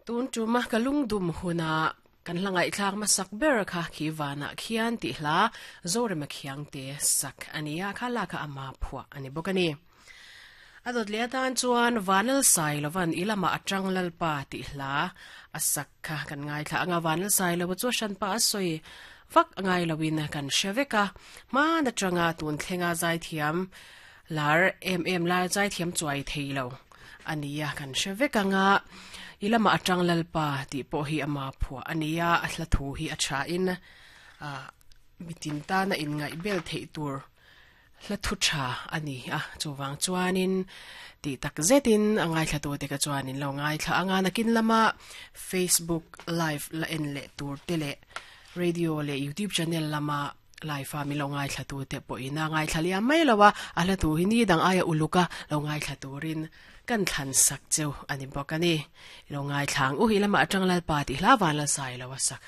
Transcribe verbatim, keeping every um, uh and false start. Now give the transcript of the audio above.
Tun tuma kalung dum huna kan hlangai thlak ma sak ber kha khi wana khian ti hla zorema khiang te sak ania khala kha ama phua ani bokani adot le tan chuan vanal sai lovan ilama atang lalpa ti hla asak kha kan ngai thla anga vanal sai lo chu shan pa soi vak ngai lowin kan sheveka ma na changa tun thlenga zai thiam lar em em la zai thiam chuai theilo ania kan sheveka nga ilama atang lalpa ti po hi ama phua ania a hla thu hi a tha in a mitin ta na in ngai bel thei tur hla thu tha ani a chuwang chuanin ti tak zetin angai thla tu te ka chuanin lo ngai thla anga nakin lama Facebook live la en le tur te le radio le YouTube channel lama live fa mi lo ngai thla tu te po ina ngai thla lia mai lowa a hla tu hi ni dang aya uluka lo ngai thla turin kan thlan sak cheu ani bawk ani lo ngai thlang u hi lama atang lalpa ti hla van la sai lo sak.